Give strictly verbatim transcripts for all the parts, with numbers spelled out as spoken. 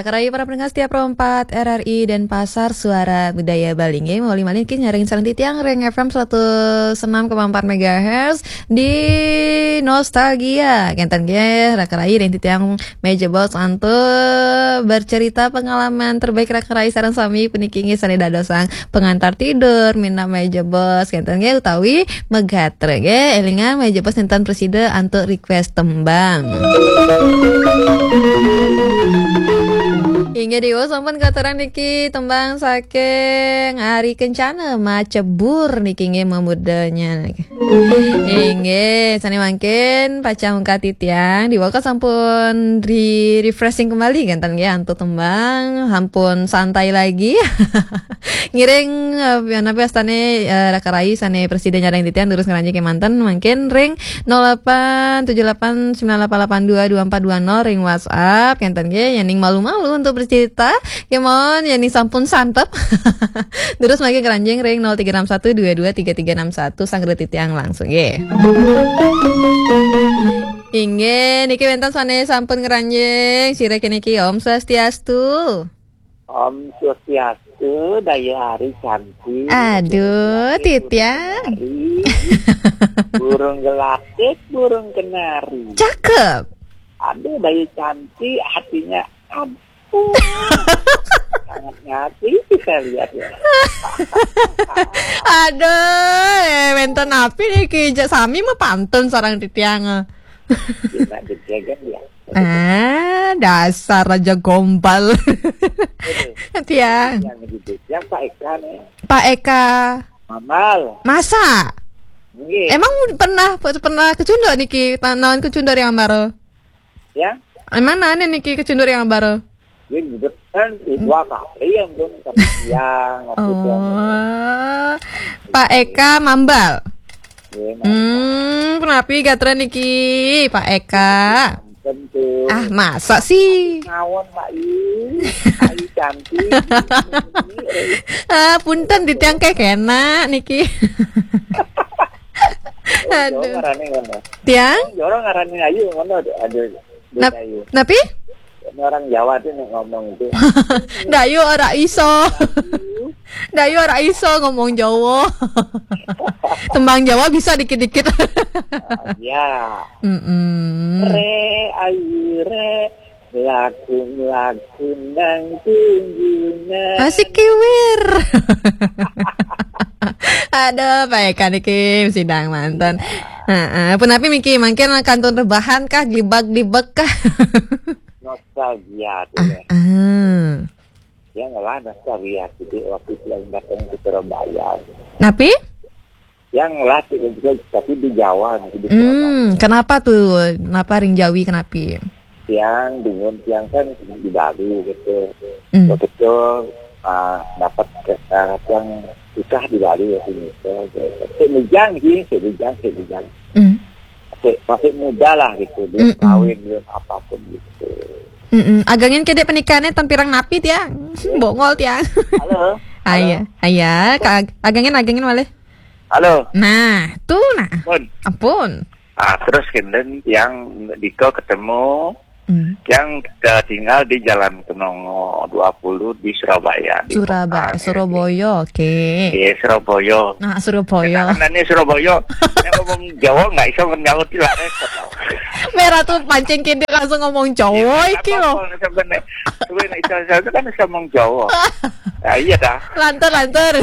Rakan rahayu para pendengar setia Pro empat R R I Denpasar, Suara Budaya Bali. Nggih, malih malih niki nyarengin sareng titiang ring F M seratus enam koma empat megahertz di Nostalgia. Kenten nggih, rakan rahayu ring titiang Meja Bos antuk bercerita pengalaman terbaik rakan rahayu sareng sami puniki nggih sane dadosang pengantar tidur, minab Meja Bos, kenten nggih, utawi megatre nggih. Elingan Meja Bos nenten prasida antuk request tembang. Inggih, Dewa sampun katurang niki tembang saking Ari Kencana, Macebur niki nggih memudanya. Inggih, sane mangkin pacang ungkat titiang, Dewa sampun di-refreshing kembali kenten nggih antuk tembang, sampun santai lagi. Ngiring, eh, pian apa astane, eh, rakan rahayu sane prasida nyarengin titiang durus ngranjing kemanten mangkin ring nol delapan tujuh delapan sembilan delapan delapan dua dua empat dua nol ring WhatsApp, kenten nggih, yening malu-malu untuk bercerita, kemawon yening sampun santep. Durus mangkin ngranjing ring nol tiga enam satu dua dua tiga tiga enam satu, sanggra titiang langsung nggih. Inggih, niki wenten sane sampun ngranjing, sira niki Om Swastiastu. Om Swastiastu, Dayu Ari cantik. Aduh, Titiang. Burung gelatik, burung kenari. Cakep. Aduh, Dayu cantik, hatinya ampun. Sangat nyati kita lihat ya. Aduh, eh, wenten napi niki, jak sami mah pantun sareng titiang. Kena dijaga ya. Ah, dasar raja gombal. Tiang. Yang gitu. Yang Pak Eka nih. Pak Eka. Mamal. Masa? Nggih. Emang pernah pernah kecunduk niki, ta-, naon kecunduk yang baru? Ya? Emang nane niki kecunduk yang baru? Dia gitu kan, dua kali yang pun sama siang, waktu itu. Oh. Pak Eka Mambal. Iya, Mambal. Hmm, kenapi gatra niki, Pak Eka? Tentu. Ah, masa sih? Ngawon, Pak Yu. Ayu cantik. Ah, punten, titiang kekena niki. Aduh. Ngarane ngono. Tiang? Jorong ngarane ayu ngono, aduh, aduh, Nap-, ayu. Napi? Ini orang Jawa tuh nih ngomong itu. Dayu ora iso. Dayu ora iso ngomong Jawa. Tembang Jawa bisa dikit-dikit. Ah, ya. Mm-mm. Re, ayu, re. Laku, laku, nang tunjungan. Asik kiwir. Aduh, Pak Eka niki sidang manten. Heeh, punapi miki mangkin kantun rebahan kah, glibag-glibeg kah? Nostalgia tuh ya. Ah. Ya ngelah nostalgia gitu waktu itu yang datang ke Surabaya. Napi? Yang ngelah gitu, tapi di Jawa gitu, di Surabaya. Hmm, kenapa tuh? Kenapa ring Jawi, kenapi? Tiang, bingung tiang kan di Bali gitu. Hmm. Waktu itu, ah, dapat ke, ah, yang susah di Bali ya sini. Sik bujang sih, sik bujang, sik bujang. Hmm. Masih, masih muda lah gitu, belum Mm-mm. kawin, belum apapun gitu. Mm-mm. Agangin kedek pernikahannya tampirang napi tiang? Iya. Bongol tiang. Halo. Halo. Iya, iya. Kak Ag-, agangin, agangin malih. Halo. Nah, tuh nah. Pun. Ampun. Ah, terus kenten yang Diko ketemu Hmm. yang, eh, tinggal di Jalan Kenongo dua puluh di Surabaya, di Surabaya, kota, ya, Surabaya, oke. Iya, Surabaya. Nah, Surabaya. Kita kan ini Surabaya. Yang ngomong Jawa nggak bisa menyaut lah, repot tau. Merah tuh pancing kindik langsung ngomong Jawa. Iya, iki apa lho. Apa, sebenarnya? Tapi nek iso, iso itu kan bisa ngomong Jawa. Nah, iya dah. Lantur, lantur.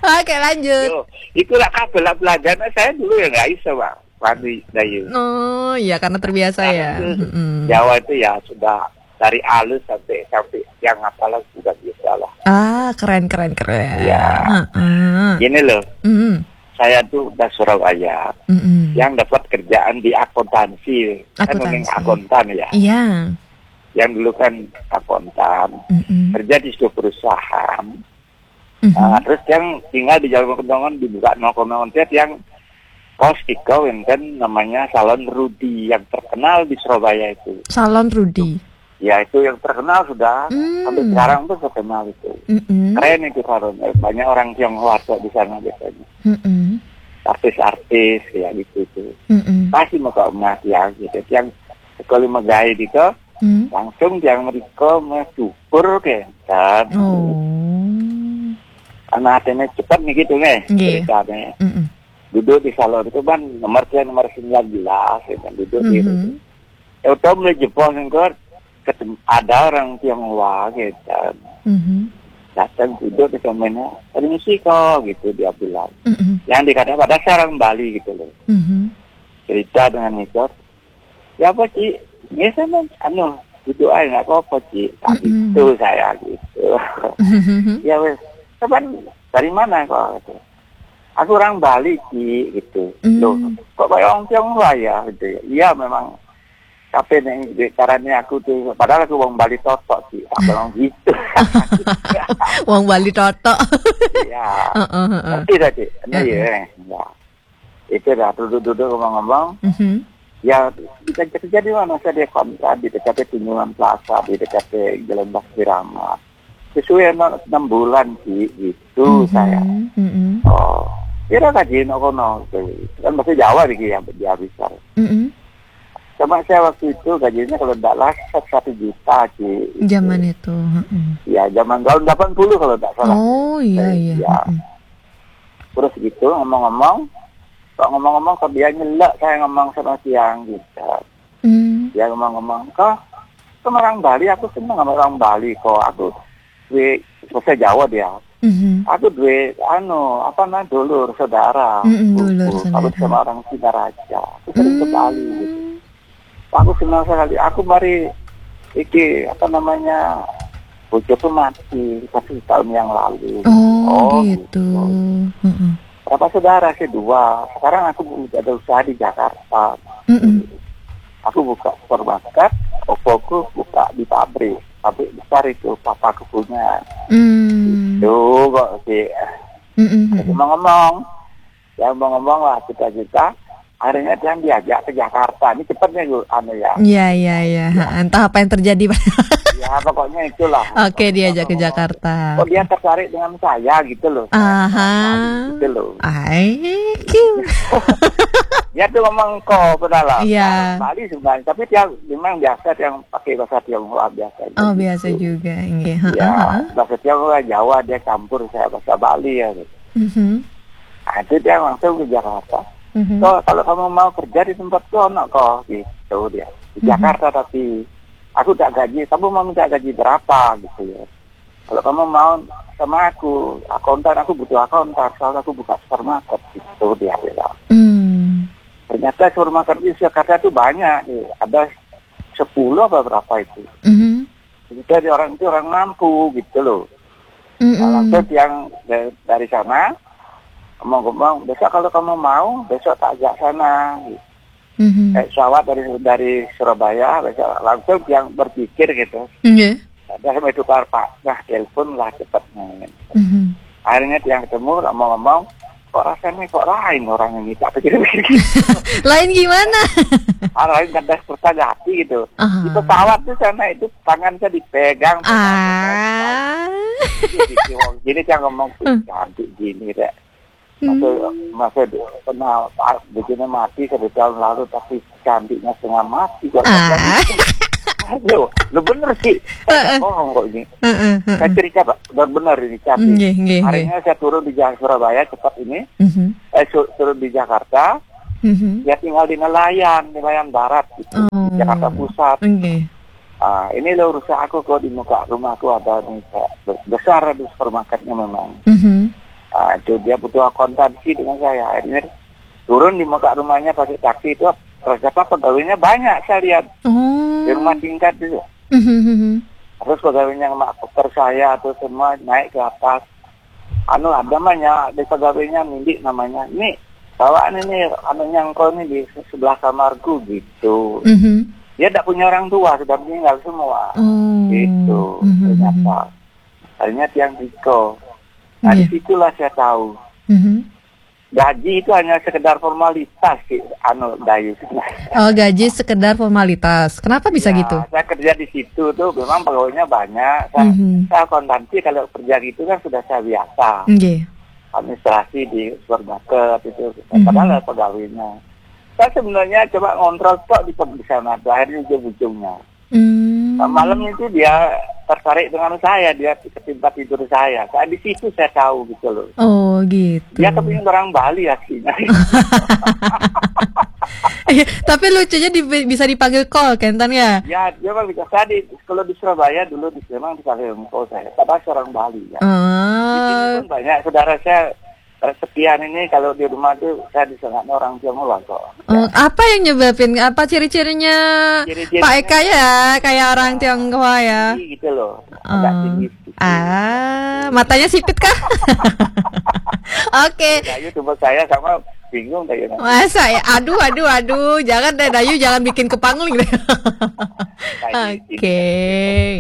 Oke, lanjut. Yo, itulah kabel pelajaran saya dulu ya nggak iso, Pak. Pandi Dayu. Oh, iya, karena terbiasa ya. Sekarang tuh Mm-mm. Jawa itu ya sudah dari alus sampai, sampai yang apalah sudah bisa lah. Ah, keren, keren, keren. Iya. Heeh. Gini loh, Mm-mm. saya tuh udah Surabaya, Mm-mm. yang dapat kerjaan di akuntansi. Kan mending Akuntansi. Akuntan ya. Iya. Yang dulu kan akuntan, Mm-mm. kerja di sebuah perusahaan. Mhm. Ah, terus yang tinggal di Jalan Kenongo dibuka nol koma nol, yang kos tiga wenten namanya Salon Rudi yang terkenal di Surabaya itu. Salon Rudi. Ya, itu yang terkenal sudah. Hmm. Sampai sekarang tuh terkenal itu. Mm-mm. Keren itu salon. Eh, banyak orang Tionghoa di sana biasanya. Mm-mm. Artis-artis ya gitu itu. Mm-mm. Pasti mau ke emas ya gitu. Yang sekali megai gitu, Hmm. Langsung tiang mriko main syukur kenten. Oh. Ana atene cepet nih gitu nih, nggih, ceritane. Mm-mm. Duduk di salon itu kan nomor, saya nomor sembilan belas, ya kan, duduk di, mhm, ya udah, mulai jebol ning kono, ketem-, ada orang Tionghoa gitu. Mhm. Datang duduk di sampingnya, "Permisi kok," gitu dia bilang. Mm-mm. Yang dikatakan padahal saya orang Bali gitu loh. Mhm. Cerita dengan itu, "Ya apa, Ci?" "Ya sama, anu, duduk aja, nggak apa-apa, Ci." Tak, mm-mm, gitu saya gitu. Mhm. "Ya wes, kapan, dari mana kok?" Gitu. "Aku orang Bali, Ci," gitu. Mm. "Loh, kok kayak orang Tionghoa ya?" Gitu ya. "Iya, memang tapi nih, di, caranya aku tuh, padahal aku orang Bali totok, Ci." Tak bilang gitu. Wong Bali totok. Iya. Heeh, heeh. Ngerti dah, Ci? Ini, heeh, ya, ya. Itu dah, duduk-duduk ngomong-ngomong. Mhm. Ya, kita kerja di mana saja, kontra di dekat Tunjungan Plaza, di dekat Jalan Basirama. Sesuai enam, enam bulan, Ci, gitu, mhm, saya. Mhm. Oh, kira gaji no kono, gitu. Kan bahasa Jawa nih, ya, dia bisa. Mhm. Sama saya waktu itu gajinya kalau tidak salah satu juta, Ci, gitu. Zaman itu, heeh. Ya, zaman tahun delapan puluh kalau tidak salah. Oh, iya, saya, iya, iya, heeh. Terus gitu, ngomong-ngomong, kok ngomong-ngomong, kok dia nyelak, saya ngomong sama tiang gitu. Hmm. Dia ngomong-ngomong, "Kok, kok orang Bali, aku seneng sama orang Bali kok. Aku duwe," bahasa Jawa dia. Mhm. "Aku duwe, anu, apa namanya, dulur, saudara. Mm-mm, dulur, saudara. Aku sama orang Singaraja. Aku sering ke Bali," gitu. Hmm. "Aku senang sekali. Aku mari iki, apa namanya, bojoku mati satu tahun yang lalu." Oh, gitu. Heeh. "Berapa saudara sih?" "Dua. Sekarang aku ada usaha di Jakarta. Mm-mm. Aku buka supermarket, opoku buka di pabrik. Pabrik besar itu, papaku punya." Hmm. Itu kok sih. Mm-mm, mm-mm. Ngomong-ngomong, ya, ngomong-ngomong lah, kita-kita, akhirnya dia diajak ke Jakarta. Ini cepetnya, Bu, anu ya. Iya, iya, iya. Ya. Ha, entah apa yang terjadi, Pak. Ya, pokoknya itulah. Oke, diajak ke Jakarta. Kok dia tertarik dengan saya gitu loh. Aha. Gitu loh. I Q. Dia tuh ngomong kok, padahal. Iya. Bali sebenarnya, tapi dia memang biasa, dia pakai bahasa Tionghoa biasa. Oh, gitu. Biasa juga, nggih. Ya, heeh, heeh. Bahasa Tionghoa, Jawa, dia campur saya bahasa Bali ya gitu. Mhm. Nah, itu dia langsung ke Jakarta. Mhm. "Kok, kalau kamu mau kerja di tempatku, ono kok," gitu dia. "Di, mhm, Jakarta, tapi aku tak gaji, kamu mau minta gaji berapa?" gitu ya. "Kalau kamu mau sama aku, akuntan, aku butuh akuntan, soalnya aku buka supermarket," gitu dia bilang. Hmm. Ternyata supermarket di Jakarta itu banyak, ya. Ada sepuluh apa berapa itu. Mhm. Jadi orang itu orang mampu gitu loh. Mm-mm. Nah, langsung tiang da-, dari sana ngomong-ngomong, "Besok kalau kamu mau, besok tak ajak sana." Mhm. Eh, pesawat dari, dari Surabaya, besok langsung tiang berpikir gitu. Nggih. Ada sampai tukar pak, nah, telepon lah cepatnya. Mhm. Akhirnya tiang ketemu, ngomong-ngomong, "Kok rasanya kok lain orang ini?" Tak pikir-pikir. Lain gimana? Ah, lain, kandas Kertajati gitu. Aha. Di pesawat tuh sana itu tangan saya dipegang, pegang, pegang. Ah. Jadi, wong gini, saya ngomong, "Ih, hmm, cantik gini deh." Masa, hmm, masa dia pernah, ah, begini mati satu tahun lalu, tapi cantiknya setengah mati kok. Ah. Aduh, lu bener sih. Saya nggak bohong kok ini. Heeh, heeh. Saya cerita, Pak, benar-benar ini cantik. Nggih, nggih, nggih. Harinya saya turun di Jalan Surabaya, cepat ini. Mhm. Eh, su-, turun di Jakarta. Mhm. Ya, tinggal di Nelayan, Nelayan Barat gitu, di, oh, Jakarta Pusat. Nggih. "Ah, ini loh rusak aku kok, di muka rumahku ada nih, Kak. Be-, besar, ada supermarketnya memang." Mhm. Ah, itu dia butuh akuntansi dengan saya. Akhirnya turun di muka rumahnya pakai taksi itu, ternyata pegawainya banyak saya lihat. Oh. Di rumah tingkat itu. Mhm, mhm. Terus pegawainya sama dokter saya tuh semua naik ke atas. Anu, ada namanya, di pegawainya, Mindik namanya. "Nih, bawaan ini, anunya engkau nih di sebelah kamarku," gitu. Mhm. Dia tak punya orang tua, sudah meninggal semua. Oh. Gitu, mhm, ternyata. Mhm. Akhirnya tiang tiko. Nah, iya, disitulah saya tahu. Mhm. Gaji itu hanya sekedar formalitas sih, anu, Dayu. Oh, gaji sekedar formalitas. Kenapa bisa gitu? Ya, saya kerja di situ tuh memang pegawainya banyak. Saya, mhm, saya akuntansi, kalau kerja gitu kan sudah saya biasa. Nggih. Administrasi di supermarket itu, mhm, padahal ada pegawainya. Saya sebenarnya coba ngontrol tok di, di sana tuh, akhirnya ujung-ujungnya. Hmm. Nah, malam itu dia tertarik dengan saya, dia ke tempat tidur saya. Saat di situ saya tahu gitu loh. Oh gitu. Dia kepingin orang Bali aslinya. Tapi lucunya di, bisa dipanggil call, Kentan ya? Ya, dia bilang gitu. Saya di, kalau di Surabaya dulu di memang dipanggil call saya. Padahal seorang Bali ya. Di sini Oh. Pun banyak saudara saya sekian ini kalau di rumah tuh saya disangkanya orang Tionghoa kok. Oh, apa yang nyebabin? Apa ciri-cirinya Ciri-cirinya Pak Eka ya? Kayak orang Tionghoa ya? Tinggi gitu loh. Agak Oh. tinggi sedikit. Ah, matanya sipit kah? Oke. Dayu coba saya sama bingung Dayu. Masa ya? Aduh, aduh, aduh. Jangan deh, Dayu, jangan bikin kepangling deh. Nah, ini- Oke.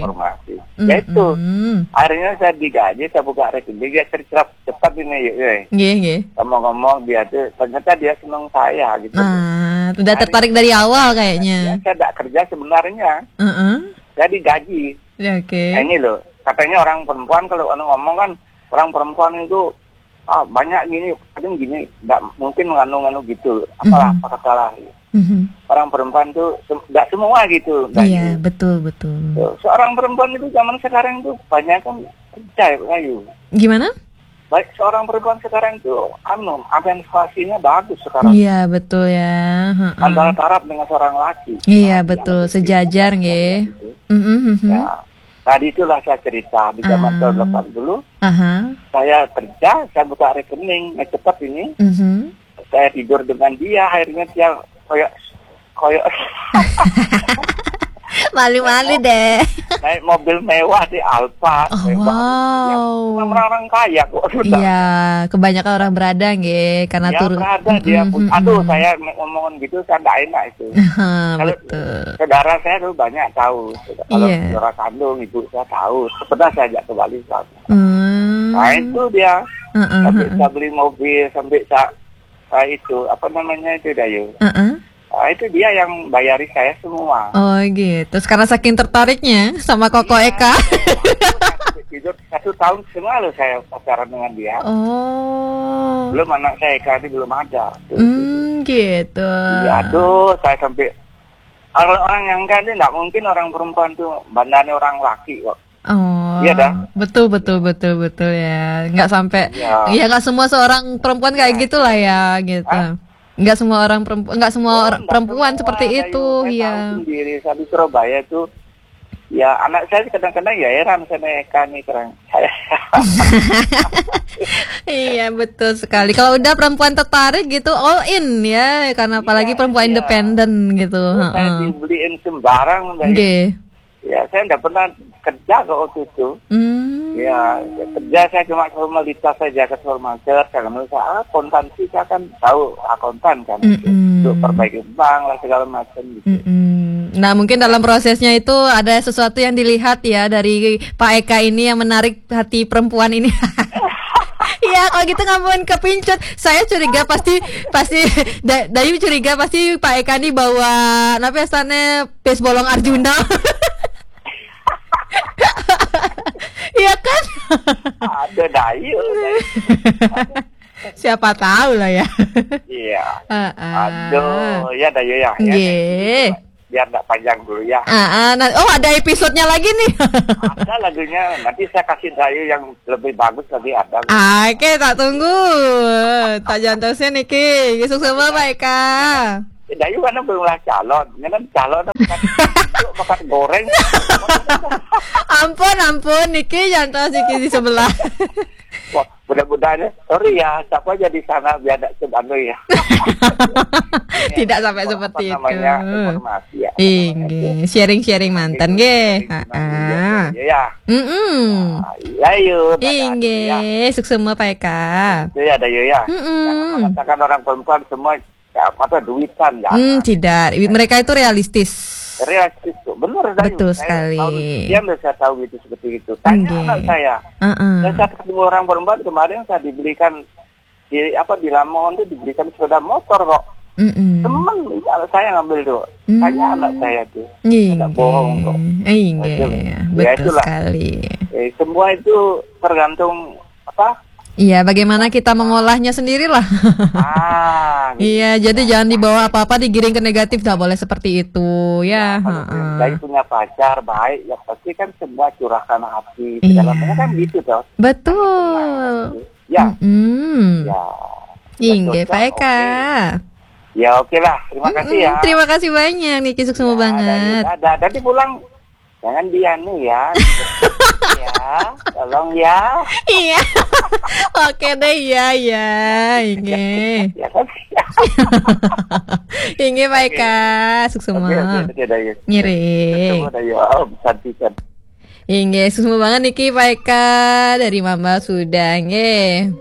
Informasi. Ya itu. Mm-mm. Akhirnya saya digaji, saya buka rekening, dia cerita cepat ini, yuk, yuk. Nggih, nggih. Ngomong-ngomong dia tuh ternyata dia seneng saya gitu. Nah, udah tertarik dari awal kayaknya. Ya, saya tidak kerja sebenarnya. Heeh. Saya digaji. Ya, oke. Nah, ini loh, katanya orang perempuan kalau anu ngomong kan orang perempuan itu ah banyak gini, kadang gini, nggak mungkin nganu-nganu gitu. Apalah Mhm. apa salah. Mhm. Orang perempuan tuh sem- nggak semua gitu. Dayu. Iya, betul, betul. Tuh, seorang perempuan itu zaman sekarang tuh banyak kan kerja ya, Dayu. Gimana? Baik seorang perempuan sekarang tuh anu emansipasinya bagus sekarang. Iya, betul ya. Heeh. Antara taraf dengan seorang laki. Iya, Nah, betul. yang Sejajar, penting nggih. Gitu. Mhm, mhm. Ya. Tadi itulah saya cerita di zaman Ah. tahun delapan puluh, Aha. saya kerja, saya buka rekening, nah, cepat ini. Mhm. Saya tidur dengan dia, akhirnya dia koyok koyok Malu-malu deh. naik mobil mewah di Alfa. Oh, Mewah. wow. Ya, orang-orang kaya kok sudah. Iya, kebanyakan orang berada nggih karena Ya, turun. berada dia Mm-mm, pun. mm-mm. Aduh, saya ngomongin gitu saya nggak enak itu. Aha, Kalau betul. saudara saya tuh banyak tahu. Kalau Iya. saudara kandung, ibu saya tahu. Pernah saya ajak ke Bali, Pak. Hmm. Nah, itu dia. Heeh, Sampai heeh. saya beli mobil, sampai saya, saya itu, apa namanya itu, Dayu. Heeh. Nah, itu dia yang bayari saya semua. Oh gitu. Terus karena saking tertariknya sama Koko Eka. Tidur satu tahun setengah loh saya pacaran dengan dia. Oh. Belum anak saya Eka ini belum ada. Tuh. Hmm, gitu. Ya, aduh, saya sampai kalau orang yang kan nggak mungkin orang perempuan tuh bandane orang laki kok. Oh. Iya, dah. Betul, betul, betul, betul ya. Nggak sampai. Iya. Ya nggak semua seorang perempuan kayak gitulah ya gitu. Hah? Nggak semua orang perempuan, nggak semua Oh, orang nggak perempuan semua, seperti Dayu. Itu, Saya iya. Tahu sendiri, saya di Surabaya tuh. Ya, anak saya kadang-kadang ya heran sama Eka nih, terang. Saya Iya, betul sekali. Kalau udah perempuan tertarik gitu, all in ya, karena apalagi Iya, perempuan iya. Independen gitu. Saya Heeh. Dibeliin sembarang, Dayu. Nggih. Ya, saya nggak pernah kerja kok waktu itu. Hmm. Ya, kerja saya cuma formalitas saja ke supermarket, saya nggak usah ah, akuntansi saya kan tahu akuntan kan Mm-mm. untuk perbaiki bank lah segala macam gitu. Mm-mm. Nah, mungkin dalam prosesnya itu ada sesuatu yang dilihat ya dari Pak Eka ini yang menarik hati perempuan ini. Iya, kalau gitu nggak mungkin kepincut. Saya curiga pasti pasti Da- Dayu curiga pasti Pak Eka ini bawa apa ya sana pes bolong Arjuna. Iya kan? Ada Dayu. Siapa tahu lah ya. Iya. Heeh. Aduh, ya Dayu ya. Ya, Nggih. Biar nggak panjang dulu ya. Ah, ah, nah, oh, ada episodenya lagi nih. Ada lagunya, nanti saya kasih Dayu yang lebih bagus lagi ada. Oke, tak tunggu. Tak jantosin niki. Suksma Pak Eka. Eh, Dayu kan belum lah calon, ini kan calon makan, makan goreng. Ampun, ampun, niki jantos niki di sebelah. Wah, mudah-mudahan ya. Sorry ya, siapa aja di sana biar ada anu ya. Tidak sampai Apa seperti itu. Namanya informasi ya. Inggih, sharing-sharing mantan nggih. Iya, Heeh. iya, ya. Mm-mm. Nah, iya yuk. Inggih, suksma Pak Eka. Itu ya Dayu ya. Mm-mm. Jangan mengatakan orang perempuan semua ya, apa duitan ya. Hmm, tidak. Mereka itu realistis. Realistis tuh, bener Dayu. Betul Saya sekali. Tahu, dia bisa tahu gitu seperti itu. Tanya Nggih. anak saya. Heeh. Dan saya ketemu orang perempuan kemarin saya dibelikan di apa di Lamongan itu dibelikan sepeda motor kok. Mm-mm. Temen anak saya ngambil tuh. Hmm. Tanya anak saya tuh. Inggih. Tidak bohong kok. Inggih. Ya, Betul itulah. Sekali. Eh, semua itu tergantung apa Iya, bagaimana kita mengolahnya sendirilah. Ah, gitu. Iya, jadi jangan dibawa apa-apa digiring ke negatif, nggak boleh seperti itu ya. Ya, kalau heeh. Dari punya pacar baik, ya pasti kan semua curahkan hati segala macam kan gitu toh. Betul. Ya. Mm-mm. Ya. Inggih, Pak Eka. Ya, oke lah. Terima kasih ya. Terima kasih banyak, Niki, suksma banget. Dadah. Nanti pulang jangan dianu ya. Ya, tolong ya. Iya. Oke deh, iya, iya. Inggih. Ya kan? Inggih, Pak Eka. Suksma. Oke, oke, oke, Dayu. Ngiring. Suksma, Dayu. Oh, santikan. Inggih, suksma banget niki Pak Eka dari Mamba sudah nggih.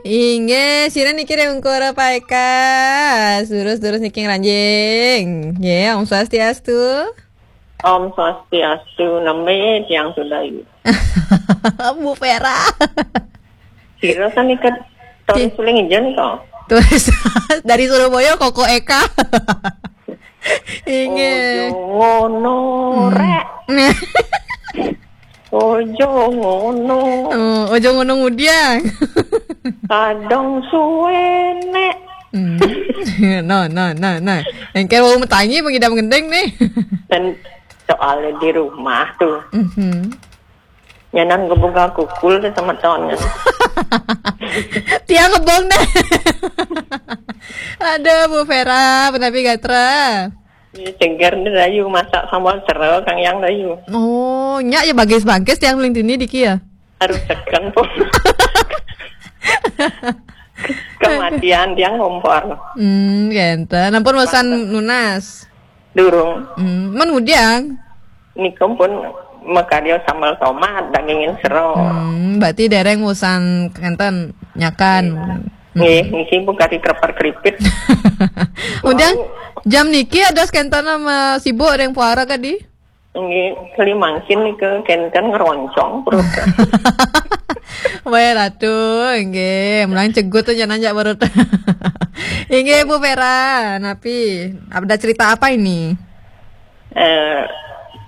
Inggih, sira niki ring ungkur Pak Eka. Terus-terus niki ngranjing. Nggih, Om Swastiastu. Om Swastiastu, nami tiang sudah. Bu Vera. Sira sami ket turis suling ijen kok. Turis dari Surabaya, Koko Eka. Inggih. Ojo ngono, hmm, rek. Ojo ngono. Oh, ojo ngono ngudiang. Kadang suwe nek. Hmm. No, no, no, no. Engke wau metangi pengidam gendeng nih. Dan soalnya di rumah tuh. Mhm. Nyanan kebuka kukul ke semeton kan. Tiang ngebong deh. Aduh, Bu Vera, menapi gatra. Ini cengger nih Dayu masak sambal sero Kang Yang Dayu. Oh, nyak ya bagis-bagis tiang ling dini diki ya. Harus tekan pun. Kematian tiang kompor. Hmm, gitu. Nampun bosan nunas. Durung. Hmm, men ngudiang. Niku pun makarya sambal tomat, dagingin sero. Hmm, berarti dereng usan kenten nyakan. Nggih, niki pun kari krepar-kripit. Udiang jam niki ada kenten sama sibuk ada yang puara kadi? Nggih, keli mangkin niku kenten ngeroncong perut. Wae ratu, nggih, mulang cegut aja nanjak perut. Inggih, Bu Vera, napi? Ada cerita apa ini? Eh,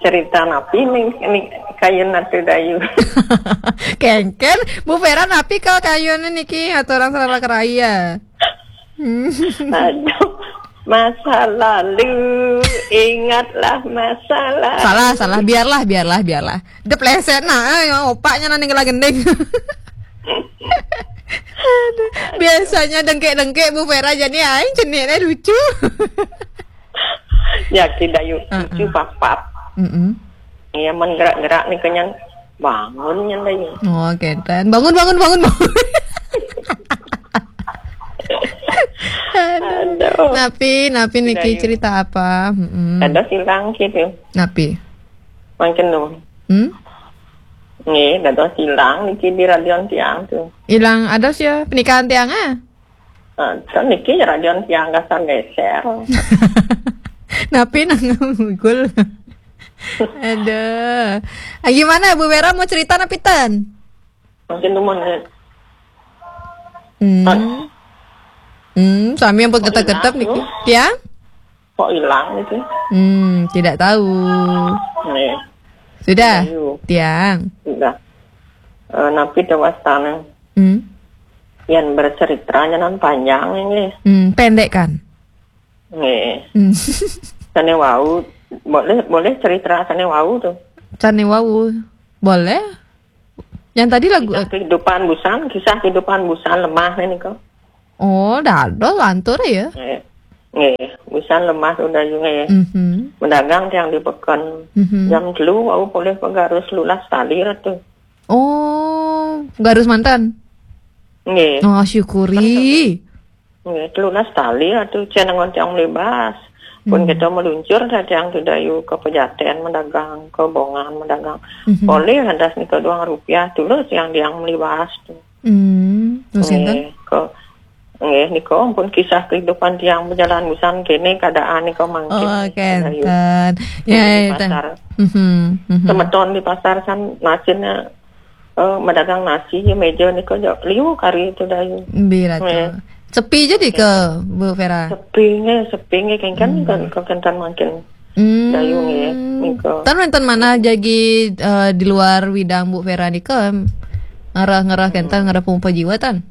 cerita napi nih, nih kayun atu Dayu. Kengken, Bu Vera napi kalau kayun niki atau orang salah keraya? Aduh, masa lalu, ingatlah masa lalu. Salah, salah, biarlah, biarlah, biarlah. Depleset nah, eh, opaknya nanti kela gending. Aduh, biasanya dengkek-dengkek Bu Vera jadi aing ceniknya lucu. Ya, tidak yuk, uh-uh. Lucu papat. Mm-mm. Iya, men gerak-gerak nih kenyan bangun nyan Dayu. Oh, kenten. Bangun, bangun, bangun, bangun. Aduh. Aduh. Napi, napi niki cerita apa? Mm-mm. Ada silang gitu. Napi? Mangkin tuh. Hmm? Nih, ada silang niki di radion tiang tuh. Ilang ada sih ya pernikahan tiang ah? Nah, kan niki radion tiang kasar geser. Napi nang ngugul. Aduh. Ah, gimana Bu Vera mau cerita napi ten? Mungkin tuh mau nih. Hmm. Hmm, sami yang ketek-ketek niki. Tiang? Kok hilang itu? Hmm, tidak tahu. Nih. Sudah? Ayo. Tiang. Sudah. Eh, napi dewasana. Hmm. Yang bercerita nyanan panjang ini. Hmm, pendek kan? Nggih. Hmm. Sane wau, boleh, boleh cerita sane wau tuh. Sane wau. Boleh. Yang tadi lagu, kisah kehidupan busan, kisah kehidupan busan lemah ini kok. Oh, dados lantur ya. Nggih. Nggih, busan lemah udah juga ya. Mhm. Mendagang tiang di peken. Mhm. Jam telu wau boleh pegarus lulas tali ratu. Oh, garus mantan. Nggih. Oh, syukuri. Nggih, telulas tali atuh cenengon tiang melibas. Pun kita meluncur dah tiang tu Dayu ke Pejaten mendagang, ke Bongan mendagang. Mhm. Boleh lantas nika dua rupiah tulus yang tiang melibas tu. Hmm, terus enten? Nggih, ke nggih nika pun kisah kehidupan tiang berjalan busan kene keadaan nika mangkin. Oh, kenten. Ya, di pasar. Mhm, mhm. Semeton di pasar kan masinnya eh, medagang nasi ya meja nika jo liu kari itu Dayu. Bila tu. Sepi jadi ke Bu Vera? Sepi nge, sepi nge kan kan kan kan mangkin. Hmm. Dayu nggih, nika. Tan wénten manah jagi, eh, di luar widang Bu Vera nika, ngarah-ngarah kénten, ngarah pemompa jiwa tan?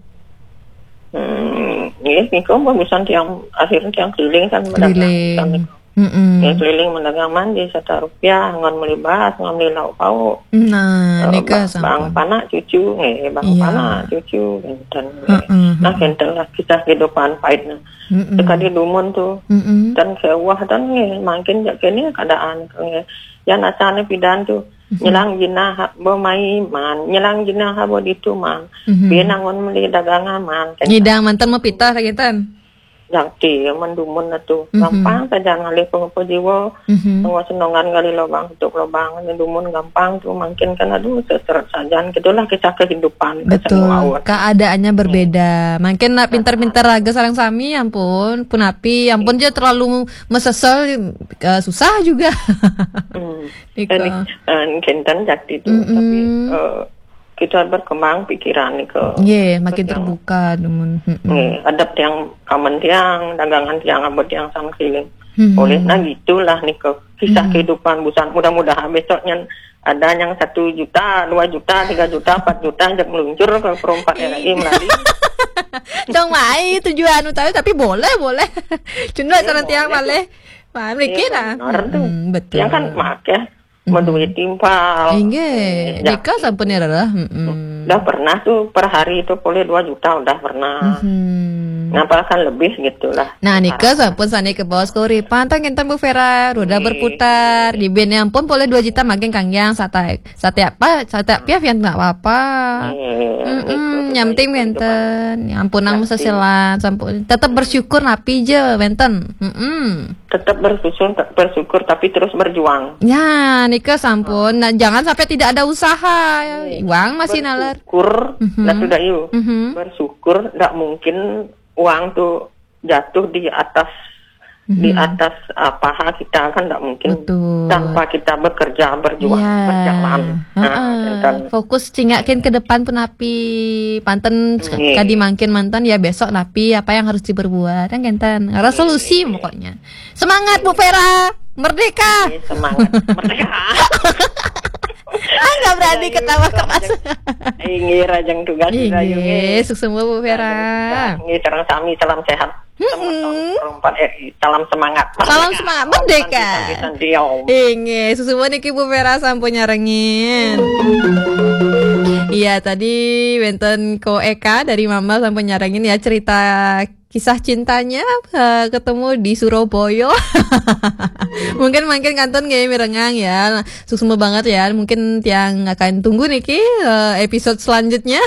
Hmm, nggih, nika pun pisan tiang, akhirnya tiang keliling kan, mendagang. Keliling. Kan nika. Mm-mm. Nggih, keliling mendagang mandi sata rupiah, ngon meli baas, ngon meli lauk pauk. Nah, eh, nika ba-, sampun. Bang panak cucu, nggih, bang, iya, panak cucu, kénten, nggih. Heeh, nah, heeh. Kénten lah kisah kehidupan pahitnya. Mm-mm. Sekali dumun tu. Mm-mm. Dan sewah dan nggih, mangkin jak kene keadaan tu nggih. Yan asane pidan tu. Mm-hmm. Nyelang jinah ha-, bo mai man, nyelang jinah ha bo ditu man. Mm-hmm. Piye nangun meli dagangan man. Nyidang manten mapitah lagi tan. Jakti ya, man dumun tu. Mm-hmm. Gampang saja ngalih pengupa jiwa. Mm-hmm. Tengok senongan gali lubang, tutup lubang, ni dumun gampang tu, mangkin kan, aduh, seseret sajan. Gitulah kisah kehidupan. Betul. Keadaan berbeda. Mangkin nak pintar-pintar raga sareng sami, ampun, punapi, ampun, iya, aja terlalu mesesel, eh, susah juga. Hmm. Nika. Eh, ni, eh, kénten jakti tu, mm-mm, tapi, eh, kita berkembang pikiran nika. Nggih, makin terbuka, dumun. Mm-mm. Nggih, adep tiang, kamen tiang, dagangan tiang, abot tiang sama keliling. Mm-mm. Oleh, nah, gitulah nika. Kisah, mm-mm, kehidupan busan. Mudah-mudahan besoknya ada yang satu juta, dua juta, tiga juta, empat juta, jak meluncur ke perompak, iya, R I melalui. Dong mai tujuan utama, tapi boleh, boleh. Cuma, iya, sareng tiang boleh. Malih. Wah, mriki lah. Iya, bener tu. Mm-mm, betul. Yang kan make, mm-mm, menduit timpal. Inggih, eh, nika sampun ya, Rara. Mm-mm. Udah pernah tu per hari tu boleh dua juta, udah pernah. Mm-hmm. Ngapalkan lebih gitulah. Nah, nika sampun sane ke bawah skori. Pantang enten Bu Vera, roda, iya, berputar. Di bene ampun boleh dua juta makin kanggiang sata-, sate apa? Sate piaf ya nggak apa-apa. Iya, mm-mm, niku yang penting kehidupan. Wenten. Ya ampun, nang, iya, sih, mesesilan, sampun. Tetap bersyukur napi je, wenten. Mm-mm. Tetap bersyukur, bersyukur, tapi terus berjuang. Ya, nika sampun. Nah, jangan sampai tidak ada usaha. Iya. Iwang masih nalar. Bersyukur, mhm, nah, sudah, yuk. Mhm. Bersyukur, ndak mungkin uang tuh jatuh di atas, di, mhm, atas, ah, paha kita, kan ndak mungkin. Betul. Tanpa kita bekerja, berjuang, ya, berjalan. Nah, heeh, kan. Fokus cingakin ke depan pun napi. Panten, iya, kadi mangkin manten, ya besok napi apa yang harus diperbuat, kan, kenten. Resolusi, iya, pokoknya. Semangat, Bu Vera. Merdeka. Iya, semangat. Merdeka. Ah, nggak berani ketawa keras. Inggih, rajang tugas. Inggih, suksma, Bu Vera. Inggih, sareng sami, salam sehat. Mm-mm. Salam semangat. Salam semangat. Merdeka. Merdeka. Santi, santi, santi, yo. Inggih, suksma niki Bu Vera sampun nyarengin. Iya, tadi wenten Ko Eka dari Mama sampun nyarengin ya cerita kisah cintanya, eh, ketemu di Surabaya. Mungkin, mungkin kantun nggih mirengang ya. Suksma banget ya. Mungkin tiang akan tunggu niki, eh, episode selanjutnya.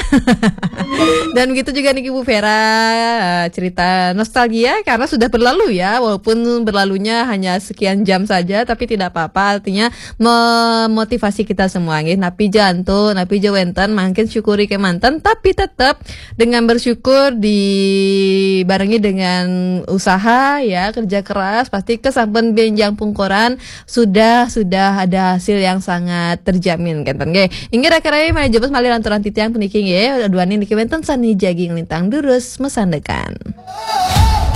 Dan begitu juga niki Bu Vera, eh, cerita nostalgia karena sudah berlalu ya. Walaupun berlalunya hanya sekian jam saja, tapi tidak apa-apa. Artinya memotivasi kita semua nggih. Napi jantu, napi ja wenten, mangkin syukuri kemanten, tapi tetap dengan bersyukur dibarengi dengan usaha ya, kerja keras, pasti kesampun benjang pungkoran sudah, sudah ada hasil yang sangat terjamin, kenten nggih. Inggih, rakan-rakan, malih jebos malih lanturang titiang puniki nggih, duaning niki wenten sani jagi nglintang durus masandekan.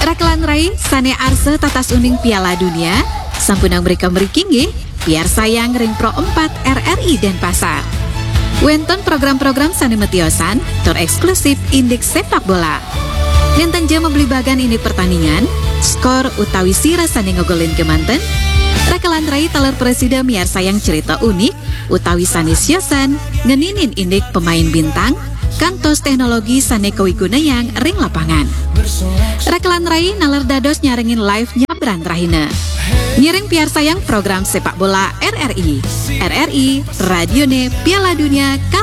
Rakelan rai sane arsa tatas uning Piala Dunia, sampunang mrika mriki nggih, piarsayang ring Pro empat R R I Denpasar. Wenten program-program sane matiosan tur eksklusif indik sepak bola. Nenten ja mabli bagan indik pertandingan, skor utawi sira sane ngogolin kemanten, rakelan rai taler prasida miarsayang cerita unik utawi sane siosan ngeninin indik pemain bintang, kantos teknologi sane kawigunayang ring lapangan. Rakelan rai naler dados nyarengin live nyabran rahina. Ngiring piarsayang program sepak bola R R I. R R I, radione Piala Dunia kali